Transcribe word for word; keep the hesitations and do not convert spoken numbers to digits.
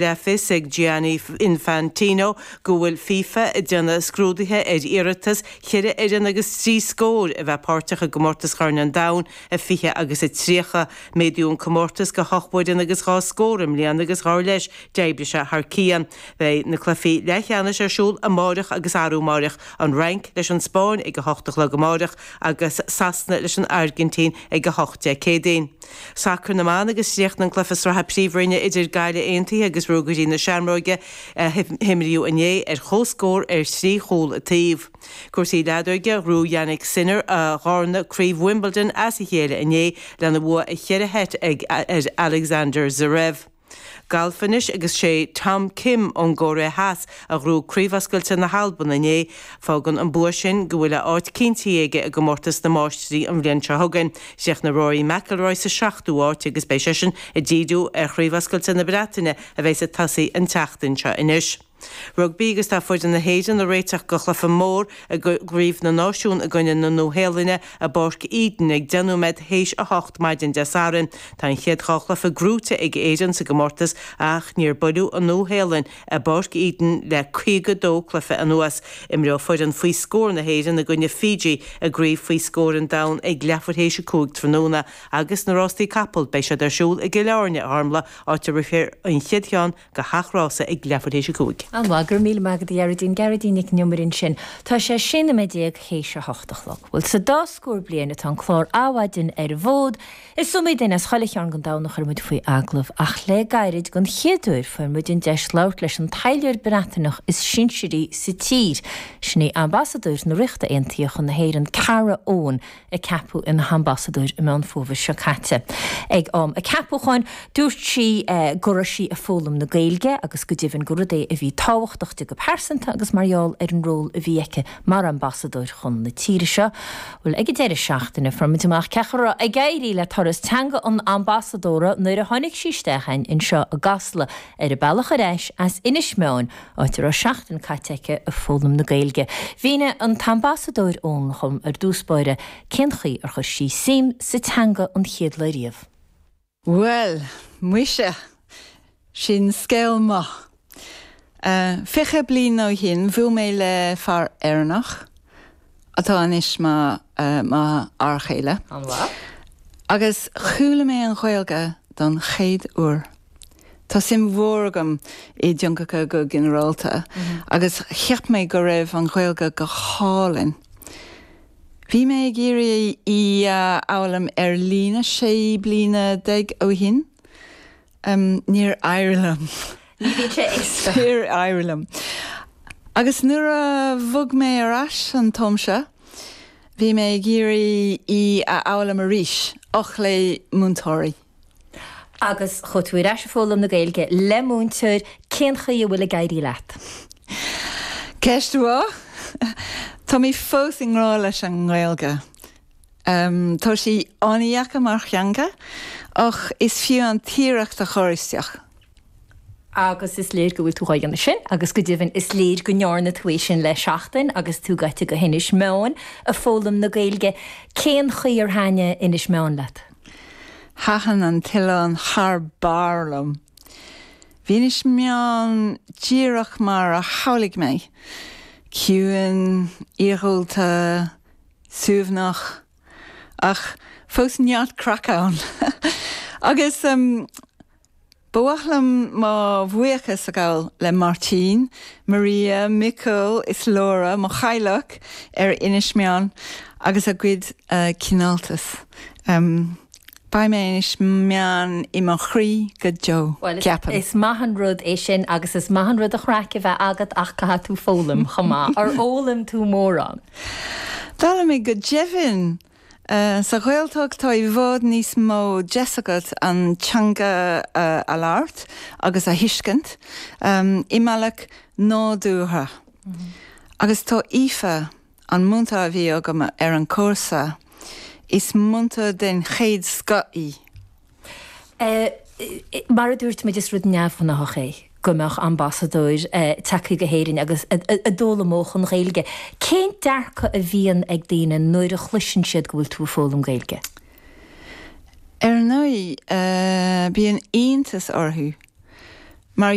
Le fios ag Gianni Infantino go bhfuil FIFA ag déanamh scrúduithe ar iarratas ceithre fhoireann agus trí scór a bheith páirteach i gcomórtas Chorn an Domhain a fiche agus a tríocha. Méadaíodh an comórtas go hocht bhfoireann agus dhá scór i mbliana agus dar leis d'oibrigh sé thar cionn. Beidh na cluichí leathcheannais ar siúl amárach agus arú amárach, an Fhrainc leis an Spáinn ag a hocht a chlog amárach agus Sasana leis an Airgintín ag a hocht Dé Céadaoin. Sacar na mban agus chríochnaigh an cluiche sraithe Príomhroinne idir Gaillimh Aontaithe agus Ruagairí na Seamróige a himríodh inné ar chomhscór ar thrí chúl an taobh. Cúrsaí leadóige, Ghnóthaigh Jannik Sinner a dharna craobh Wimbledon as a chéile inné lena bhua i cheithre sheit ag ar Alexander Zverev. Galf anois agus sé Tom Kim ón gCóiré Theas a ghnóthaigh Craobh Oscailte na hAlban inné. Fágann an bua sin go bhfuil a áit cinntithe aige i gcomórtas na Máistrí an bhliain seo chugainn. Chríochnaigh Rory McIlroy sa seachtú háit agus beidh seisean ag díriú ar Chraobh Oscailte na Breataine a bheidh ag tosaí an tseachtain seo anois. Rugbaí agus tá foireann na hÉireann ag réiteach do chluiche mór i gCraobh na Náisiún i gcoinne na Nua-Shéalainne i bPáirc Eden ag deich nóiméad théis a hocht maidin Dé Sathairn. Tá an chéad dhá chluiche gnóthaithe ag Éirinn sa gcomórtas ach níor buaileadh an Nua-Shéalainn i bPáirc Eden le caoga dó cluiche anuas. Imreoidh foireann faoi scór na hÉireann i gcoinne Fiji i gCraobh faoi scór an Domhain ag leathuair théis a cúig tráthnóna agus na rástaí capall beidh siad ar siúl i gCill Airne, a Ghormfhlaith, áit a rithfear an chéad cheann go heachrása ag leathuair théis a cúig. An-mhaith, go raibh míle maith agat a Ghearóidín, Gearóidín Nic an Iomaire ansin. Tá sé sé nóiméad déag théis a hocht a chlog. Bhuel, sa dá scór bliain atá an clár Adhmhaidin ar an bhfód, is iomaí duine as chuile chearn den domhan a chuir muid faoi agallamh, ach le gairid, den chéad uair, fuair muid an deis labhairt leis an taidhleoir Breataineach is sinsearaí sa tír. Sin í Ambasadóir na Ríochta Aontaithe chun na hÉireann, Cara Owen, a ceapadh ina hambasadóir i Meán Fómhair seo caite. Ag am a ceapúcháin, dúirt sí go raibh sí ag foghlaim na Gaeilge agus go deimhin gur rud é a bhí tábhachtach di go pearsanta agus mar gheall ar an ról a bhí aici mar ambasadóir chun na tíre seo. Bhuel, ag an deireadh seachtaine, fuair muid amach cén chaoi a raibh ag éirí le turas teanga an ambasadóra nuair a tháinig sí isteach againn anseo i gCasla ar a bealach ar ais as Inis Meáin, áit a raibh seachtain caite aici ag foghlaim na Gaeilge. Mhínigh an tAmbasadóir Owen dhom ar dtús báire cén chaoi ar chuir sí suim sa teanga an chéad lá riamh. Bhuel, muise, sin scéal maith. Fiche bliain ó shin bhuail mé le fear Éireannach, atá anois mo mo fhear chéile. An-mhaith. Agus chuala mé an Ghaeilge don chéad uair. Tá suim mhór agam i dteangacha go ginearálta agus cheap mé go raibh an Ghaeilge go hálainn. Bhí mé ag iarraidh í a fhoghlaim ar líne sé bliana déag ó shin. Níor éirigh liom. Ní bhíonn sé éasca. Níor éirigh liom. Agus nuair a bhog mé ar ais an t-am seo, bhí mé ag iarraidh í a fhoghlaim arís, ach le múinteoirí. Agus chuaigh tú ar ais ag foghlaim na Gaeilge le múinteoir, cén chaoi a bhfuil ag éirí leat? Ceist mhaith. Tá mé fós i ngrá leis an nGaeilge. Tá sí an-deacair mar theanga, ach is fiú an t-iarracht a chur isteach. Agus is léir go bhfuil tú dhá dhéanamh sin, agus go deimhin is léir go ndearna tú é sin le seachtain agus tú gaibhte go hInis Meáin ag foghlaim na Gaeilge. Cén chaoi ar thaitnigh Inis Meáin leat? Thaitin an t-oileán thar barr liom. Bhí Inis Meáin díreach mar a shamhlaigh mé, ciúin, iargúlta, suaimhneach, ach fós neart craic ann. Agus ba mhaith liom mo bhuíochas a ghabháil le Máirtín, Maria, Michael is Laura, mo theaghlach ar Inis Meáin agus a gcuid cineáltas. Beidh mé Inis Meáin i mo chroí go deo, ceapaim. Is maith an rud é sin agus is maith an rud an chraic a bheith agat ach caithfidh tú foghlaim chomh maith. Ar fhoghlaim tú mórán? D'fhoghlaim mé go deimhin. Sa Ghaeltacht tá i bhfad níos mó deis agat an teanga a labhairt agus a thuiscint i mbealach nádúrtha. Agus tá Aoife, an múinteoir a bhí agam ar an chúrsa, is múinteoir den chéad scoth í. Mar a dúirt muid, is rud neamhghnáthach é go mbeadh ambasadóir tagtha go hÉirinn agus a d'fhoghlaimeodh an Ghaeilge. Cén dearcadh a bhíonn ag daoine nuair a chloiseann siad go bhfuil tú ag foghlaim Gaeilge? Ar ndóigh, bíonn iontas orthu. Mar